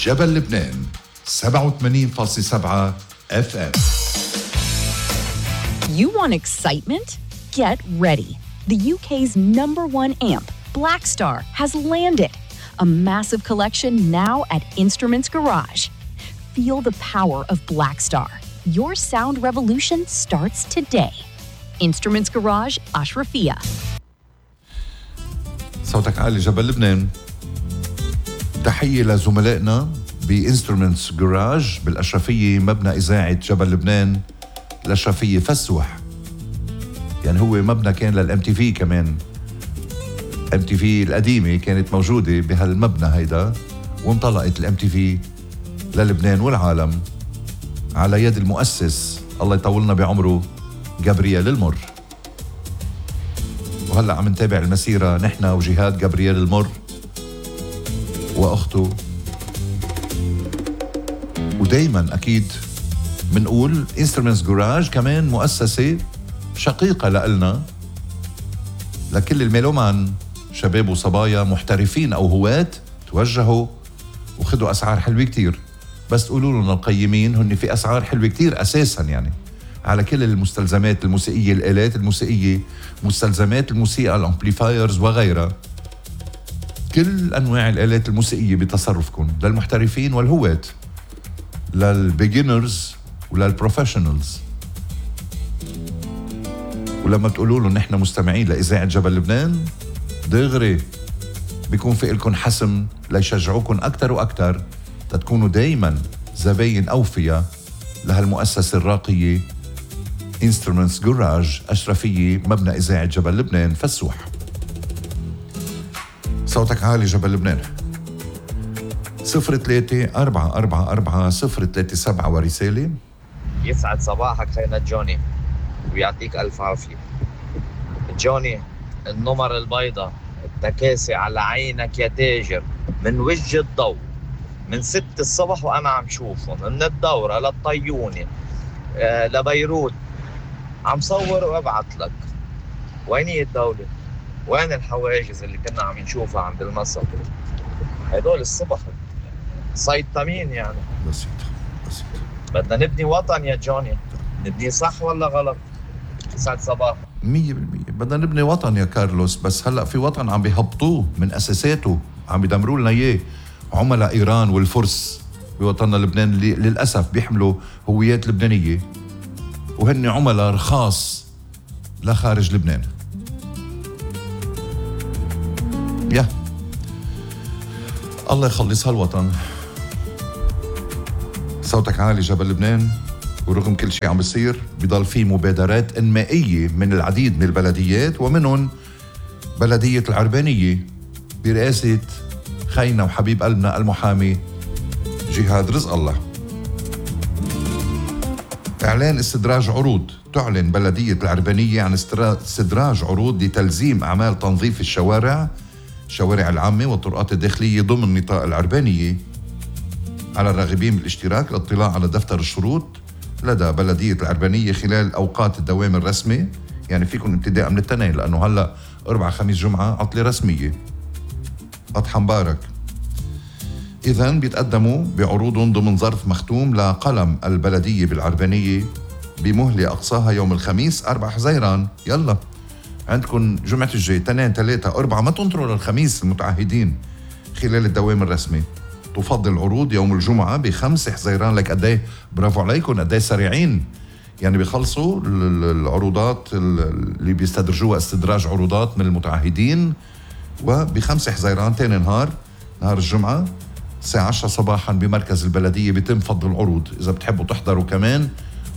جبل لبنان 87.7 FM. You want excitement? Get ready. The UK's #1 amp, Blackstar, has landed. A massive collection now at Instruments Garage. Feel the power of Blackstar. Your sound revolution starts today. Instruments Garage, Ashrafia. صوتك عالي جبل لبنان. تحية لزملائنا بإنسترومنتس جراج بالأشرفية، مبنى إذاعة جبل لبنان. الأشرفية فسوح، يعني هو مبنى كان للMTV كمان. MTV القديمة كانت موجودة بهالمبنى هيدا، وانطلقت الMTV للبنان والعالم على يد المؤسس الله يطولنا بعمره جابرييل المر. وهلأ عم نتابع المسيرة نحن وجهاد جابرييل المر وأخته، ودايما أكيد منقول Instruments Garage كمان مؤسسة شقيقة لإلنا، لكل الميلومان شباب وصبايا محترفين أو هواة توجهوا وخدوا أسعار حلوة كتير. بس تقولوا لنا القيمين هن في أسعار حلوة كتير أساسا، يعني على كل المستلزمات الموسيقية، الآلات الموسيقية، مستلزمات الموسيقى، الأمبليفايرز وغيرها، كل أنواع الآلات الموسيقية بتصرفكم، للمحترفين والهواة، للبيجينرز وللبروفيشنالز. ولما بتقولوا له نحن مستمعين لإذاعة جبل لبنان، دغري بيكون في لكم حسم ليشجعوكم أكتر وأكتر تتكونوا دايما زباين أوفياء لهالمؤسسة الراقية Instruments Garage، أشرفية، مبنى إذاعة جبل لبنان فسوح. صوتك عالي جبل لبنان. 03-444-037 ورسالة. يسعد صباحك خينا جوني ويعطيك ألف عافية. جوني، النمر البيضاء التكاسي على عينك يا تاجر، من وجه الضوء من 6 الصبح وأنا عم شوفهم، من الدورة للطيونة لبيروت، عم صور وابعت لك. وين هي الدولة؟ وين الحواجز اللي كنا عم نشوفها عند المصر؟ هدول الصبح سيطمين يعني. بسيط. بدنا نبني وطن يا جوني، نبني صح ولا غلط؟ يسعد صباح. 100% بدنا نبني وطن يا كارلوس، بس هلأ في وطن عم بيهبطوه من أساساته، عم بيدمروا لنا إياه عملاء إيران والفرس بوطننا لبنان، اللي للأسف بيحملوا هويات لبنانية وهن عملاء رخاص لخارج لبنان. الله يخلص هالوطن. صوتك عالي جبل لبنان. ورغم كل شيء عم بيصير بيضل في مبادرات إنمائية من العديد من البلديات، ومنهم بلدية العربانية برئاسة خينا وحبيب قلبنا المحامي جهاد رزق الله. إعلان استدراج عروض. تعلن بلدية العربانية عن استدراج عروض لتلزيم أعمال تنظيف الشوارع العامة والطرقات الداخلية ضمن نطاق العربانية على الراغبين بالاشتراك. الاطلاع على دفتر الشروط لدى بلدية العربانية خلال أوقات الدوام الرسمي، يعني فيكم ابتداء من التنين، لأنه هلأ 4 5 جمعة عطلة رسمية، أضحى مبارك. إذن بيتقدموا بعروضهم ضمن ظرف مختوم لقلم البلدية بالعربانية بمهلة أقصاها يوم الخميس 4 حزيران. يلا عندكم جمعة الجاي 2 3 4، ما تنطروا للخميس المتعهدين خلال الدوام الرسمي. تفضل العروض يوم الجمعة ب5 حزيران. لك قديه برافو عليكم، قديه سريعين، يعني بيخلصوا العروضات اللي بيستدرجوها استدراج عروضات من المتعهدين. وب5 حزيران تاني نهار الجمعة الساعة 10 صباحا بمركز البلدية بيتم فض العروض إذا بتحبوا تحضروا كمان.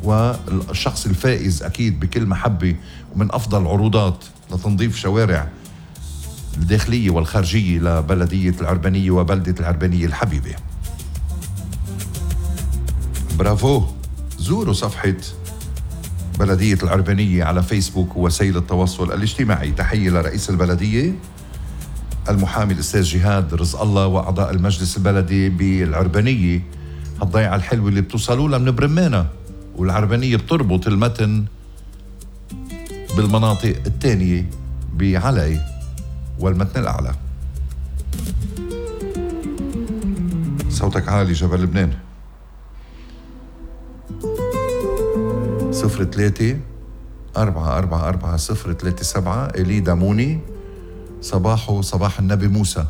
والشخص الفائز أكيد بكل محبة ومن أفضل عروضات لتنظيف شوارع الداخلية والخارجية لبلدية العربانية وبلدة العربانية الحبيبة. برافو. زوروا صفحة بلدية العربانية على فيسبوك ووسائل التواصل الاجتماعي. تحية لرئيس البلدية المحامي الأستاذ جهاد رزق الله وأعضاء المجلس البلدي بالعربانية. هالضيعة الحلوة اللي بتوصلوا لها من برمانة، والعربانية بتربط المتن بالمناطق الثانية بعلي والمتن الأعلى. صوتك عالي جبل لبنان. 03-444-037. إلي داموني. صباحه صباح النبي موسى.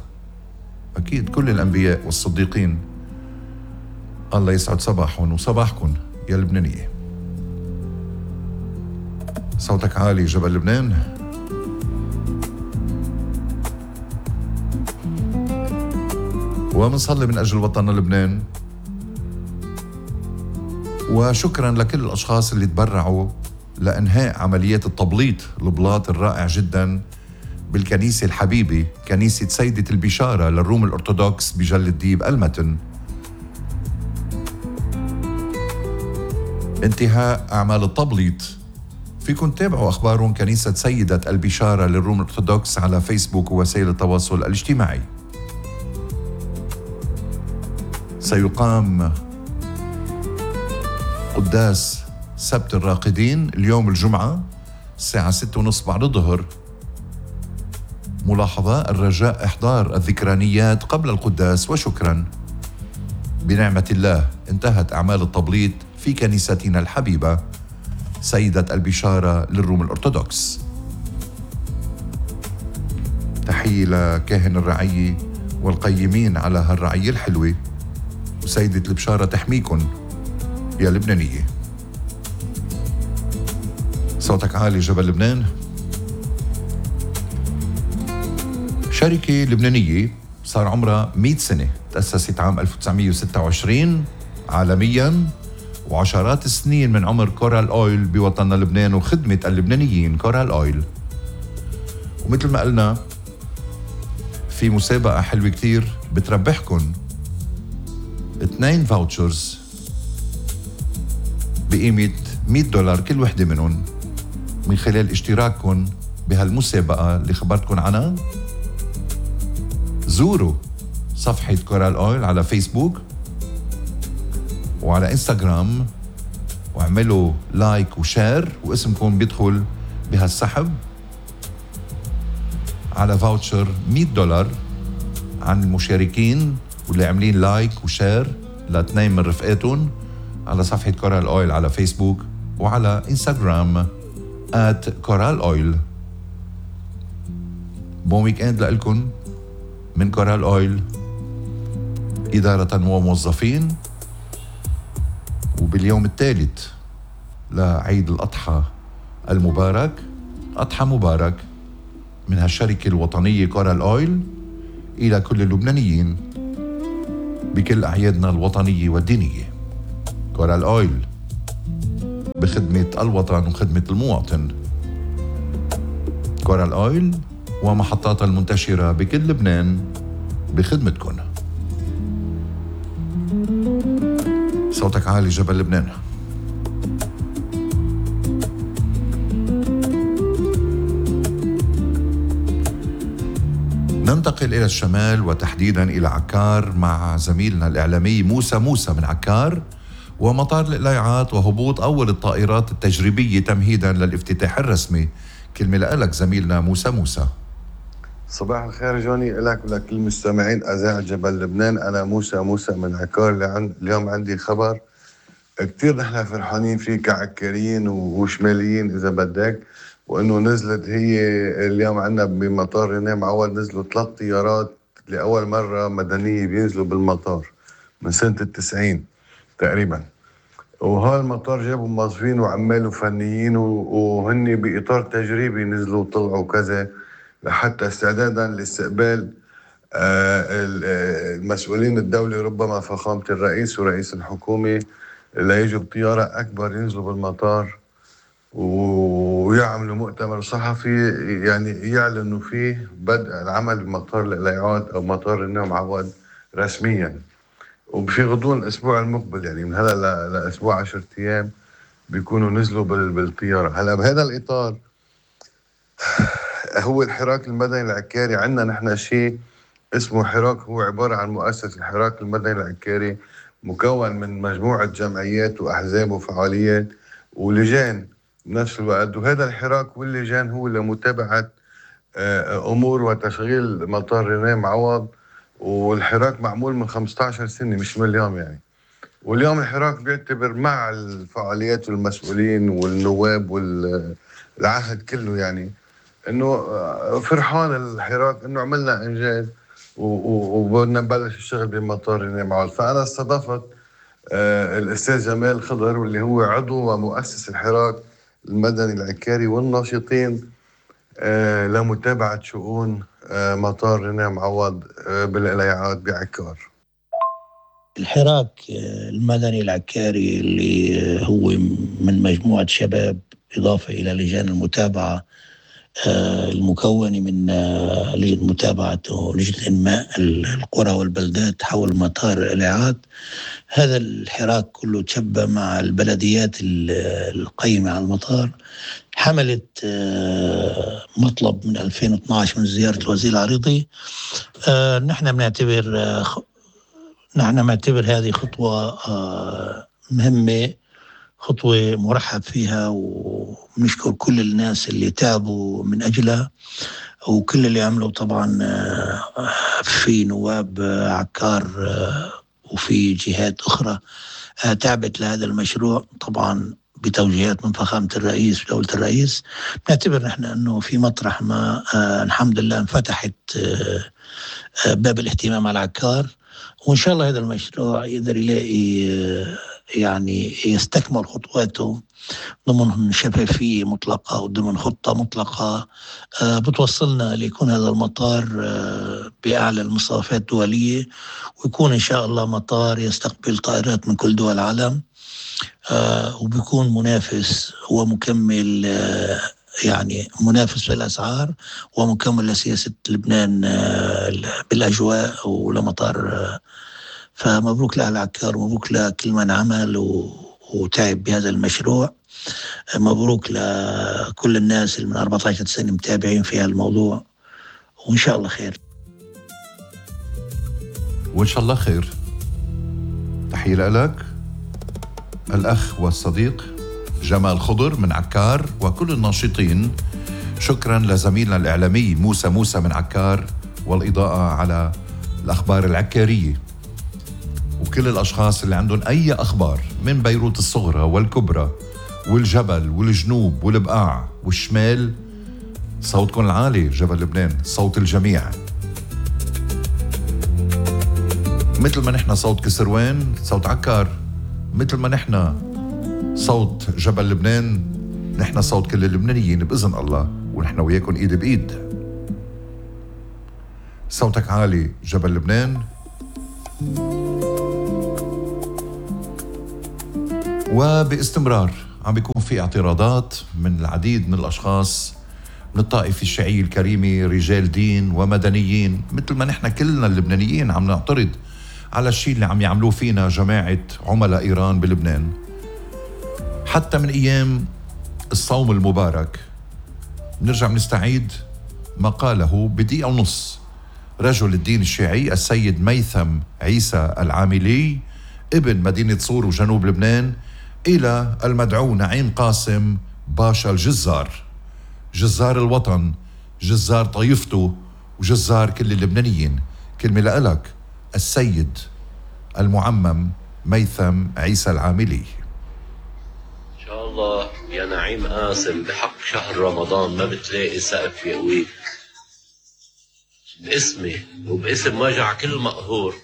أكيد كل الأنبياء والصديقين الله يسعد صباحهم وصباحكم يا لبنانية. صوتك عالي جبل لبنان. ومنصلي من أجل وطننا لبنان، وشكرا لكل الأشخاص اللي تبرعوا لإنهاء عمليات التبليط البلاط الرائع جدا بالكنيسة الحبيبة، كنيسة سيدة البشارة للروم الأرثوذكس بجل الديب المتن. انتهاء أعمال التبليط. فيكم تتابعوا أخبارهم كنيسة سيدة البشارة للروم الأرثوذكس على فيسبوك ووسائل التواصل الاجتماعي. سيقام قداس سبت الراقدين اليوم الجمعة الساعة 6:30 بعد الظهر. ملاحظة: الرجاء إحضار الذكرانيات قبل القداس وشكرا. بنعمة الله انتهت أعمال التبليط في كنيستنا الحبيبة سيدة البشارة للروم الأرثوذكس. تحية لكاهن الرعية والقيمين على هالرعية الحلوة، وسيدة البشارة تحميكن يا لبنانية. صوتك عالي جبل لبنان. شركة لبنانية صار عمرها 100 سنة، تأسست عام 1926 عالمياً، وعشرات السنين من عمر كورال أويل بوطننا لبنان وخدمة اللبنانيين. كورال أويل. ومثل ما قلنا في مسابقة حلوة كتير بتربحكن 2 فاوتشرز بقيمة $100 كل وحدة منهم من خلال اشتراككن بهالمسابقة اللي خبرتكن عنها. زوروا صفحة كورال أويل على فيسبوك وعلى انستغرام واعملوا لايك وشير، واسمكم بيدخل بهالسحب على فاوتشر $100 عن المشاركين واللي عاملين لايك وشير لاثنين من رفقاتهم على صفحة كورال أويل على فيسبوك وعلى انستغرام @كورال أويل. بون ويك اند لألكن من كورال أويل إدارة وموظفين. وباليوم الثالث لعيد الأضحى المبارك، أضحى مبارك من هالشركة الوطنية كورال أويل إلى كل اللبنانيين بكل أعيادنا الوطنية والدينية. كورال أويل بخدمة الوطن وخدمة المواطن. كورال أويل ومحطاتها المنتشرة بكل لبنان بخدمتكم. صوتك عالي جبل لبنان. ننتقل إلى الشمال وتحديدا إلى عكار مع زميلنا الإعلامي موسى من عكار ومطار القلايعات وهبوط أول الطائرات التجريبية تمهيدا للافتتاح الرسمي. كلمة لك زميلنا موسى. صباح الخير جوني لك ولكل المستمعين أذاعة جبل لبنان. أنا موسى من عكار. اليوم عندي خبر كتير نحن فرحانين فيه كعكاريين وشماليين إذا بدك، وإنه نزلت هي اليوم عنا بمطار رينيه معوض نزلوا 3 طيارات لأول مرة مدنية بينزلوا بالمطار من سنة 90 تقريبا. وهذا المطار جابوا موظفين وعمال وفنيين وهن بإطار تجريبي نزلوا وطلعوا كذا لحتى استعدادا لاستقبال المسؤولين الدولة، ربما فخامة الرئيس ورئيس الحكومة ليجوا بطيارة أكبر ينزلوا بالمطار ويعملوا مؤتمر صحفي يعني يعلنوا فيه بدء العمل بمطار القلايعات أو مطار النوم عوض رسميا، وفي غضون الأسبوع المقبل يعني من هذا لأسبوع 10 أيام بيكونوا نزلوا بالطيارة. هلا بهذا الإطار هو الحراك المدني العكاري. عندنا نحن شيء اسمه حراك، هو عبارة عن مؤسسة الحراك المدني العكاري مكون من مجموعة جمعيات وأحزاب وفعاليات ولجان بنفس الوقت. وهذا الحراك واللجان هو لمتابعة أمور وتشغيل مطار رينيه معوض والحراك معمول من 15 سنة مش من اليوم يعني. واليوم الحراك بيعتبر مع الفعاليات والمسؤولين والنواب والعهد كله يعني انه فرحان الحراك انه عملنا انجاز وبدنا نبلش الشغل بمطار رينيه. فانا استضفت الاستاذ جمال خضر واللي هو عضو ومؤسس الحراك المدني العكاري والناشطين لمتابعة شؤون مطار رينيه معوض بالقليعات بعكار. الحراك المدني العكاري اللي هو من مجموعة شباب إضافة إلى لجان المتابعة المكونة من لمتابعة لجنة إنماء القرى والبلدات حول مطار القليعات. هذا الحراك كله تشبه مع البلديات القيمة على المطار. حملت مطلب من 2012 من زيارة الوزير العريضي. نحن بنعتبر هذه خطوة مهمة، خطوة مرحب فيها، ونشكر كل الناس اللي تعبوا من أجلها وكل اللي عملوا. طبعا في نواب عكار وفي جهات أخرى تعبت لهذا المشروع، طبعا بتوجيهات من فخامة الرئيس ودولة الرئيس. نعتبر نحن أنه في مطرح ما الحمد لله انفتحت باب الاهتمام على عكار، وإن شاء الله هذا المشروع يقدر يلاقي يعني يستكمل خطواته ضمن شفافية مطلقة وضمن خطة مطلقة بتوصلنا ليكون هذا المطار بأعلى المصافات الدولية، ويكون إن شاء الله مطار يستقبل طائرات من كل دول العالم، وبيكون منافس ومكمل يعني منافس في الأسعار ومكمل لسياسة لبنان بالأجواء ولمطار. فمبروك لأهل عكار ومبروك لكل من عمل وتعب بهذا المشروع. مبروك لكل الناس اللي من 14 سنة متابعين في هالموضوع، وإن شاء الله خير. وإن شاء الله خير. تحية لك الأخ والصديق جمال خضر من عكار وكل الناشطين. شكرا لزميلنا الإعلامي موسى من عكار والإضاءة على الأخبار العكارية، وكل الأشخاص اللي عندهم أي أخبار من بيروت الصغرى والكبرى والجبل والجنوب والبقاع والشمال. صوتكم العالي جبل لبنان، صوت الجميع، مثل ما نحن صوت كسروان صوت عكار، مثل ما نحن صوت جبل لبنان نحن صوت كل اللبنانيين بإذن الله، ونحن وياكم إيد بإيد. صوتك عالي جبل لبنان. وباستمرار عم بيكون في اعتراضات من العديد من الأشخاص من الطائفة الشيعية الكريمة، رجال دين ومدنيين، مثل ما نحن كلنا اللبنانيين عم نعترض على الشيء اللي عم يعملوه فينا جماعة عملاء إيران بلبنان. حتى من أيام الصوم المبارك نرجع نستعيد ما قاله بدقيقة ونص رجل الدين الشيعي السيد ميثم عيسى العاملي ابن مدينة صور وجنوب لبنان إلى المدعو نعيم قاسم باشا الجزار، جزار الوطن، جزار طائفته وجزار كل اللبنانيين. كلمة لك السيد المعمم ميثم عيسى العاملي. إن شاء الله يا نعيم قاسم بحق شهر رمضان ما بتلاقي سقف يقويك باسمي وباسم وجع كل مقهور،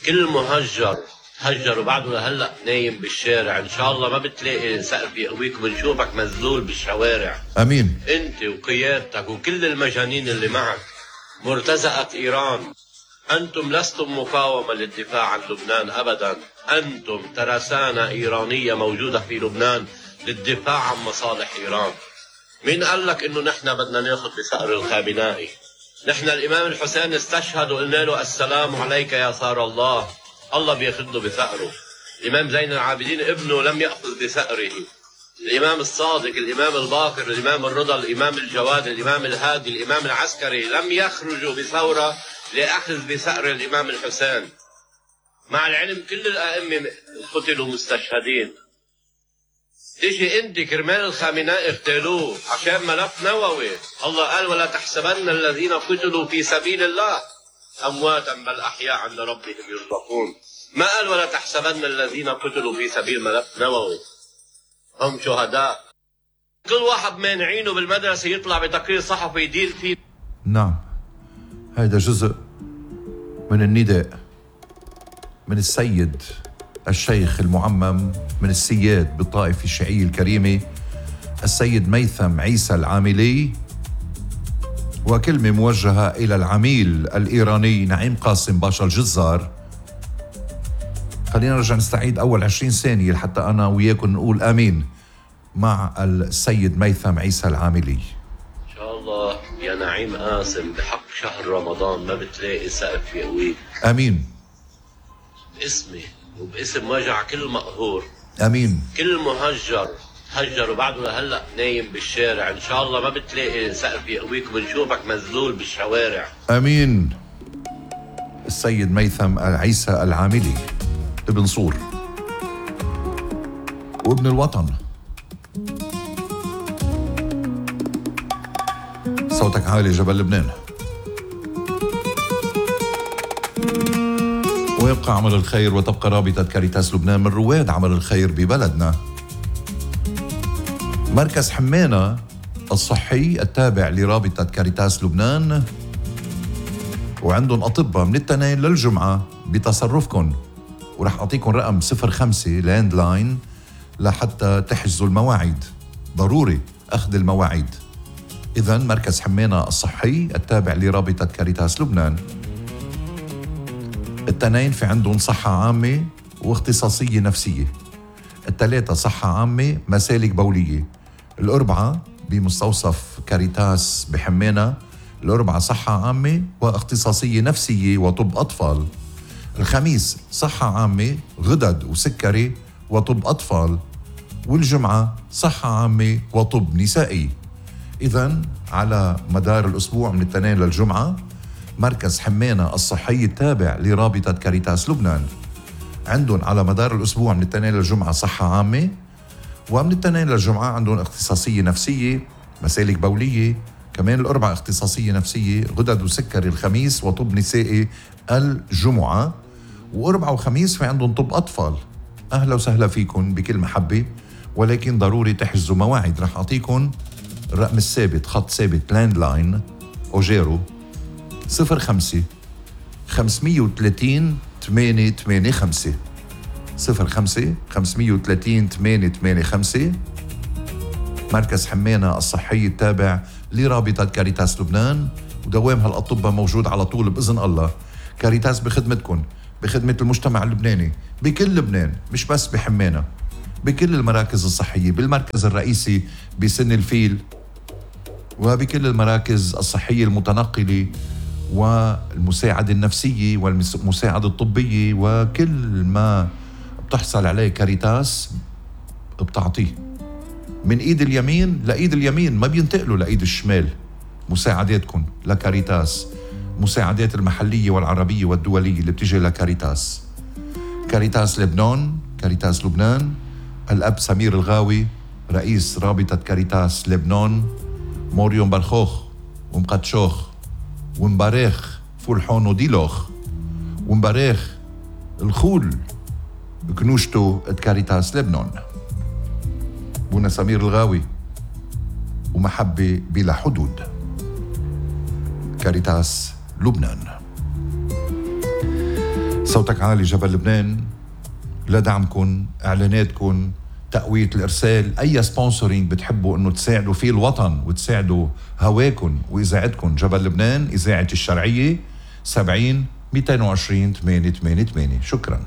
كل مهجر هجر وبعده لهلأ نايم بالشارع. إن شاء الله ما بتلاقي سقف يقويك وبنشوفك مذلول بالشوارع. أمين. أنت وقيادتك وكل المجانين اللي معك، مرتزقة إيران. أنتم لستم مقاومة للدفاع عن لبنان أبدا، أنتم ترسانة إيرانية موجودة في لبنان للدفاع عن مصالح إيران. مين قال لك إنه نحن بدنا ناخذ بثأر الخامنائي؟ نحن الإمام الحسين استشهد وقلنا له السلام عليك يا ثار الله، الله بياخذه بثأره. الإمام زين العابدين ابنه لم يأخذ بثأره. الإمام الصادق، الإمام الباقر، الإمام الرضا، الإمام الجواد، الإمام الهادي، الإمام العسكري لم يخرجوا بثورة لأخذ بثأر الإمام الحسين. مع العلم كل الأئمة قتلوا مستشهدين. تيجي انت كرمال الخامنائي اغتالوه عشان ملف نووي. الله قال ولا تحسبن الذين قتلوا في سبيل الله أمواتا بل أحياء عند ربهم يرزقون. ما قال ولا تحسبن الذين قتلوا في سبيل ملك نووي هم شهداء. كل واحد مانعينه بالمدرسة يطلع بتقرير صحفي يدير فيه. نعم، هذا جزء من النداء من السيد الشيخ المعمم من السياد بالطائفة الشيعية الكريمة السيد ميثم عيسى العاملي، وكلمة موجهة إلى العميل الإيراني نعيم قاسم باشا الجزار. خلينا نرجع نستعيد أول 20 ثانية لحتى أنا وياكم نقول آمين مع السيد ميثم عيسى العاملي. إن شاء الله يا نعيم قاسم بحق شهر رمضان ما بتلاقي سقف يقويك. آمين. باسمي وباسم وجع كل مقهور. آمين. كل مهجر هجر وبعده لهلا نايم بالشارع، ان شاء الله ما بتلاقي سقف يقويك وبنشوفك مذلول بالشوارع. امين. السيد ميثم عيسى العاملي ابن صور وابن الوطن. صوتك عالي جبل لبنان. ويبقى عمل الخير وتبقى رابطة كاريتاس لبنان من رواد عمل الخير ببلدنا. مركز حمينة الصحي التابع لرابطة كاريتاس لبنان، وعندهم أطباء من التنين للجمعة بتصرفكم، ورح أعطيكم رقم 05 لاند لاين لحتى تحجزوا المواعيد. ضروري أخذ المواعيد. إذن مركز حمينة الصحي التابع لرابطة كاريتاس لبنان. التنين في عندهم صحة عامة واختصاصية نفسية. الثلاثة صحة عامة مسالك بولية. الأربعة بمستوصف كاريتاس بحمينة، الأربعة صحة عامة واختصاصية نفسية وطب أطفال. الخميس صحة عامة غدد وسكري وطب أطفال. والجمعة صحة عامة وطب نسائي. إذن على مدار الأسبوع من الاثنين للجمعة مركز حمينة الصحي التابع لرابطة كاريتاس لبنان عندهم على مدار الأسبوع من الاثنين للجمعة صحة عامة، ومن الاثنين للجمعة عندهم اختصاصية نفسية مسالك بولية، كمان الأربعة اختصاصية نفسية غدد وسكري الخميس وطب نسائي الجمعة، وأربعة وخميس في عندهم طب أطفال. أهلا وسهلا فيكم بكل محبة، ولكن ضروري تحجزوا مواعيد. رح أعطيكم الرقم الثابت، خط ثابت لاند لاين أوجيرو 05 530 885 05 530 885. مركز حمينة الصحي التابع لرابطة كاريتاس لبنان، ودوام هالأطباء موجود على طول بإذن الله. كاريتاس بخدمتكم، بخدمة المجتمع اللبناني بكل لبنان، مش بس بحمينة، بكل المراكز الصحية، بالمركز الرئيسي بسن الفيل، وبكل المراكز الصحية المتنقلة والمساعدة النفسية والمساعدة الطبية، وكل ما بتحصل عليه كاريتاس بتعطيه من ايد اليمين لايد اليمين، ما بينتقلوا لايد الشمال. مساعداتكم لكاريتاس، مساعدات المحلية والعربية والدولية اللي بتجي لكاريتاس. كاريتاس لبنان، كاريتاس لبنان، الأب سمير الغاوي رئيس رابطة كاريتاس لبنان، موريون برخوخ ومقدشوخ ومباريخ فولحون وديلوخ ومباريخ الخول كنوشتو كاريتاس لبنان. بونا سمير الغاوي ومحبة بلا حدود. كاريتاس لبنان. صوتك عالي جبل لبنان. لدعمكن، اعلاناتكن، تقوية الارسال، اي سبونسورينج بتحبوا انه تساعدوا فيه الوطن وتساعدوا هواكن واذاعتكن جبل لبنان، اذاعة الشرعية 70 220 888. شكرا.